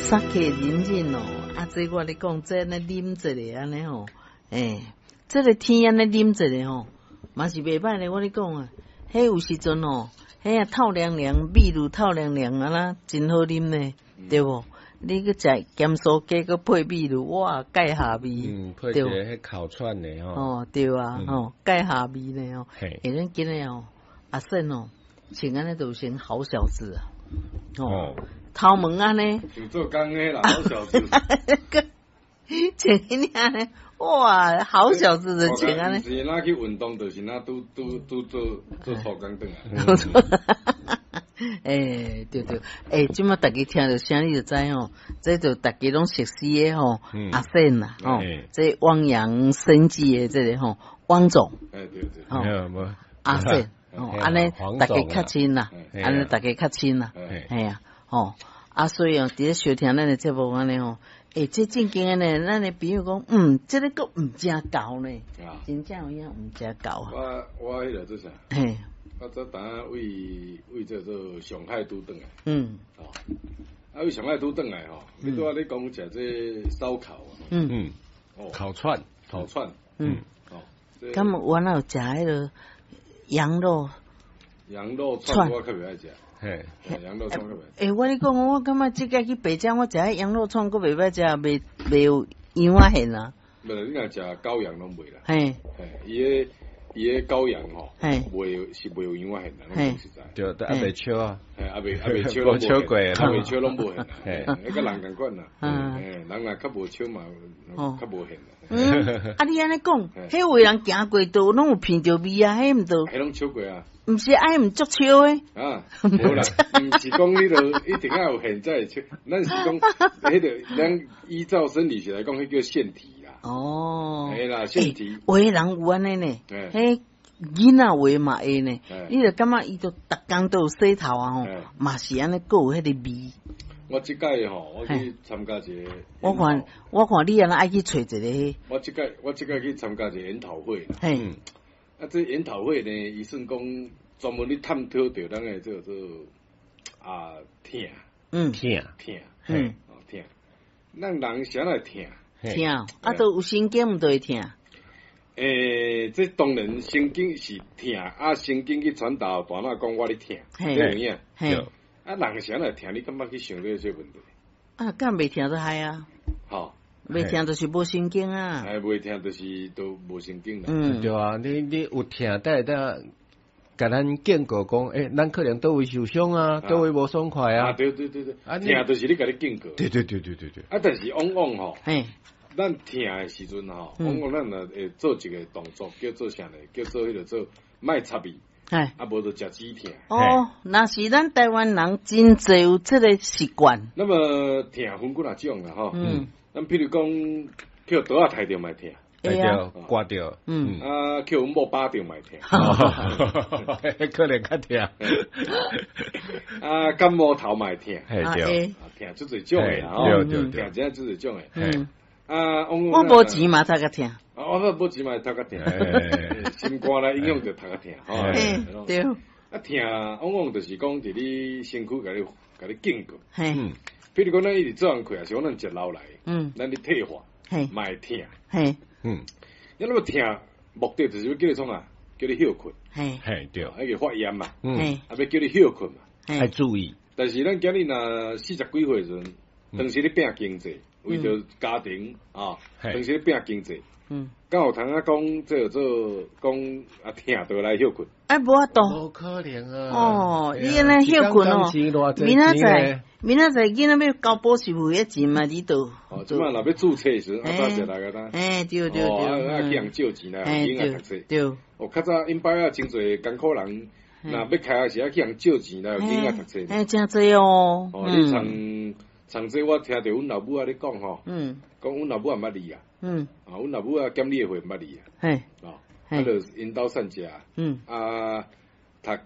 酒飲飲哦，啊，這我咧講，這按呢啉一下按呢吼，欸，這个天按呢啉一下吼，嘛是袂䆀咧。我咧講啊，彼有時陣吼，彼啊透涼涼，味露透涼涼啊啦，真好啉呢，對無？你閣食鹹酥雞，閣配美祿，哇，蓋下味。嗯，配一个彼烤串的吼。哦，對啊，吼，蓋下味呢吼。欸，咱今日哦，阿勝哦，穿按呢就成好小子啊。哦，頭毛按呢？像做工的啦，好小子。穿按呢，哇，好小子的穿按呢。是若去運動，就是若拄拄拄做做粗工轉來。欸，對對，欸，這馬逐家聽著聲，你就知吼，這就逐家攏熟悉的吼，阿勝啦，吼，這汪洋生技的這个吼，汪總，欸對對，吼，阿勝，吼，按呢逐家較親啦，按呢逐家較親啦，嘿啊，吼，啊所以哦，佇咧收聽咱的節目按呢吼，欸，這正經的呢，咱的朋友講，嗯，這个閣毋正厚呢，真正有影毋正厚啊。我彼个做啥？嘿。我早當為為這做上海拄轉來，哦，啊為上海拄轉來吼，你拄仔咧講食這燒烤啊，哦，烤串，烤串，哦，敢有哪有食彼个羊肉？羊肉串我較袂愛食，嘿，羊肉串較袂。欸，我咧講，我感覺這擺去白江，我食彼羊肉串，閣袂歹食，袂袂有羊仔現啊。無，你若食羔羊攏袂啦。嘿，嘿，伊个。伊个羔羊吼，袂是袂有羊仔現啦，攏講實在。對，但猶未燒啊，嘿，猶未猶未燒攏無燒過，猶未燒攏無現啦，彼佮人仝款啦，嘿，人若較無燒嘛，較無現啦。嗯，啊你按呢講，彼有的人行過都攏有聞著味啊，彼毋著？彼攏燒過啊？毋是，啊，彼毋足燒的。啊，無啦，毋是講彼个一定愛有現才會燒，咱是講，彼个咱依照生理學來講，彼叫腺體。哦，嘿啦，腺體，有的人有按呢呢，彼囡仔話嘛會呢，你就感覺伊就逐工都有洗頭啊吼，嘛是按呢，閣有彼个味。我這擺吼，我去參加一个，我看你按呢愛去揣一个。我這擺去參加一個研討會。嘿，啊，這研討會呢，伊算講專門咧探討著咱的這個做啊疼，疼疼，哦疼，咱人啥來疼？疼，啊，都有神經毋就會疼。欸，這當然神經是疼，啊，神經去傳導大腦講我咧疼，這有影。啊，人啥來疼？你敢捌去想過這個問題？啊，敢袂疼就害啊。吼，袂疼就是無神經啊。哎，袂疼就是都無神經啦。嗯，對啊，你有疼，但會共咱警告講，欸，咱可能佗位受傷啊，佗位無爽快啊。啊，對對對對，疼就是咧共你警告。對對對對對對。啊，但是往往吼，咱疼的時陣吼，往往咱若會做一個動作，叫做啥呢？叫做彼個做莫插伊，啊，無就食止疼。哦，若是咱台灣人真濟有這个習慣。那麼疼分幾若種啦，吼。咱譬如講，予刀仔刣著嘛會疼。會啊，割著。啊，予阮某巴著嘛會疼。可能較疼。啊，感冒頭嘛會疼。嘿對。疼足濟種的啦，吼。對對對。疼真足濟種的。啊，我無錢嘛，頭殼疼。啊，我無錢嘛會頭殼疼。心肝來影響著頭殼疼。嘿，對。啊，疼往往就是講佇你身軀共你警告。嘿。譬如講，咱一直做工課，抑是講咱食老來，咱咧退化，嘛會疼。嘿。你那麼疼，目的就是欲叫你創啥？叫你歇睏。嘿。嘿，對。彼個發炎嘛。啊，欲叫你歇睏嘛。愛注意。但是咱今日若四十幾歲時陣，當時咧拼經濟，為著家庭啊，當時咧拼經濟。敢有通啊講這做講啊疼就來歇睏？哎，無法度。無可能啊！哦，你按呢歇睏哦，明仔載，明仔載囡仔欲交補習費的錢嘛，你都。哦，這擺若欲註冊時，啊早食來個呾。欸，對對對。哦，啊去人借錢來予囡仔讀冊。對。哦，較早𪜶擺啊，真濟艱苦人，若欲開時啊去人借錢來予囡仔讀冊。欸，真濟哦。哦，你像像這我聽著阮老母仔咧講吼，講阮老母也毋捌字啊。啊，阮老母仔檢你的歲毋捌字啊。嘿。哦，啊，就𪜶兜散食。啊，讀國